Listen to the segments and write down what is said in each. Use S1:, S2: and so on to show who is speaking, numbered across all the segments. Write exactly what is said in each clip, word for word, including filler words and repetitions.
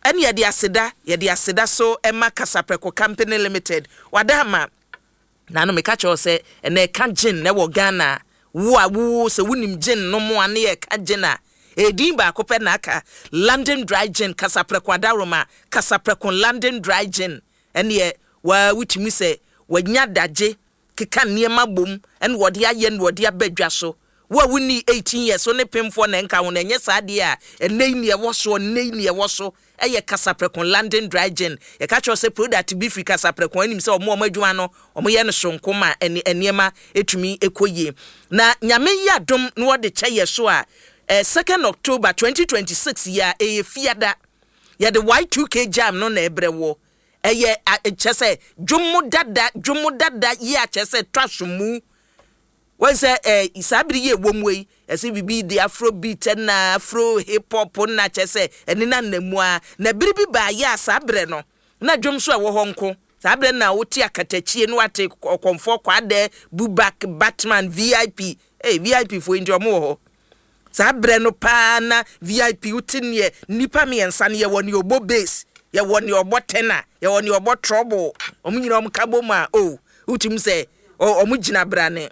S1: Ɛne yɛde aseda yɛde aseda so ɛma Kasaprɛko Company Limited. Wada ama naano meka kyerɛ wo sɛ ɛnɛ ɛka gin na ɛwɔ Ghana. Wo a wo sɛ wonim gin no mu a, ne yɛka gin a, ɛdin baako pɛ na aka, London Dry Gin. Kasaprɛko adaworoma, Kasaprɛko London Dry Gin, ɛneɛ waa wotumi sɛ wanya dagye keka nneɛma bom ɛna wɔde ayɛ na wɔde aba dwa so. Wo a wonni eighteen years so ne pemfoɔ na ɛnka ho na ɛnyɛ saa deɛ a, ɛnɛ yi neɛ ɛwɔ soɔ, nnɛ yi neɛ ɛwɔ so ɛyɛ Kasaprɛko London Dry Gin. Yɛka kyerɛ sɛ product bi firi Kasaprɛko anim sɛ ɔmo ɔmo adwuma no, ɔmo yɛ no sonko ma ɛne nneɛma etumi ekɔ yie. Na Nyame yi adom na wɔde kyɛ yɛ so a, ɛɛ second October twenty twenty-six yi a ɛyɛ Fiada, yɛde Y two K Jam no na ɛbrɛ wɔ. Ɛyɛ kyɛ sɛ dwom dada, dwom dada yi a kyɛ sɛ twa so mu wɔn sɛ ɛɛ saa bere yi ɛwɔ mu yi, ɛsɛ bibi de afro beat na afro hip hop na kyɛ sɛ ɛne na nam mu a. Na bere bi baayɛ a, saa bere no na dwom so ɛwɔ hɔ nko. Saa bere na wote Akatakyie no, wate Ɔkɔmfoɔ Kwaadɛ, Bubak, Batman, V I P. Ee, V I P foɔ nti ɔmo wɔ hɔ saa berɛ no paa. Na V I P wote neɛ nnipa mmiɛnsa no, yɛwɔ neɛ ɔbɔ bass, yɛwɔ neɛ ɔbɔ tenor, yɛwɔ neɛ ɔbɔ treble. Ɔmo nyinaa ɔmo ka bɔ mu a, o wotumi sɛ ɔmo gyina brane.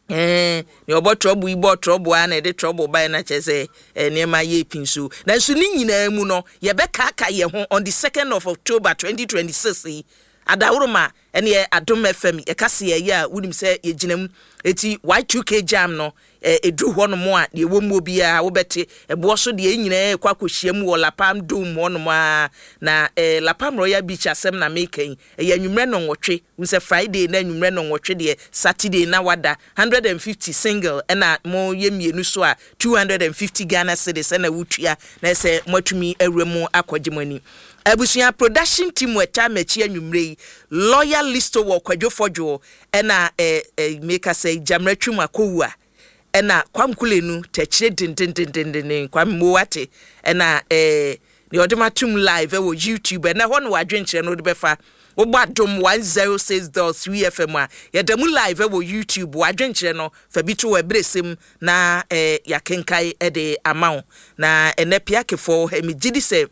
S1: Ɛɛ nea ɔbɔ treble yi bɔ treble a, na yɛde treble baeɛ na kyerɛ sɛ ɛɛ nneɛma yɛ pin so. Nanso ne nyinaa mu no, yɛbɛkaaka yɛn ho on the second of October twenty twenty six yi. Adaworoma, ɛne Adom F M yɛka se yɛyɛ a, wonim sɛ yɛgyina mu. Eti Y two K Jam no, ɛduru hɔ nom a, deɛ ɛwɔ mu biara wobɛte ɛboɔ so deɛ nyinaa ɛkɔ akɔhyia mu wɔ Lapam Dome hɔ nom a. Na eh, Lapam Royal Beach asɛm na meka yi. Ɛyɛ anwummerɛ no nwɔtwe n sɛ Friday na anwummerɛ no nwɔtwe deɛ, Saturday na wada hundred and fifty single, ɛna mo yɛ mmienu so a, two hundred and fifty Ghana cedis ɛna wotua na ɛsɛ moatumi awura mu akɔgye mo ani. Abusua production team ɛta m'akyi anwummerɛ yi, Lawyer Listo wɔ Kwadwo Fɔdwo, ɛna eh, eh, meka sɛ Gyammerɛ Twum akɔwu a, ɛna Kwamkule no tɛkyerɛ dendendendenden Kwame mo wate, ɛna ɛɛ deɛ ɔde ma tum live ɛwɔ YouTube. Ɛnɛ hɔ no wadwenkyerɛ no wode bɛfa wobɔ Adom one zero six dot three F M a, yɛda mu live ɛwɔ YouTube. Wadwenkyerɛ no fa bi to wɔ ɛberɛ sɛm na ɛɛ yɛakenkae ɛde ama wo. Na ɛnɛ piakefoɔ, ɛmi gye di sɛ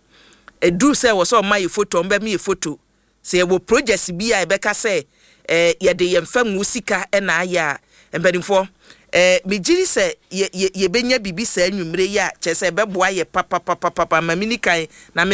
S1: ɛduru sɛ wɔ sɛ ɔma yɛ photo, ɔmbɛma yɛ photo sɛ yɛwɔ project bi a yɛbɛka sɛ ɛɛ yɛde yɛn fam wo sika ɛna ayɛ a. Mpanimfoɔ, ɛɛ megye di sɛ yɛ yɛ yɛbɛnya biribi saa nnwumire yi a kyerɛ sɛ ɛbɛboa yɛ papapapapa. Ma mi ni kan na me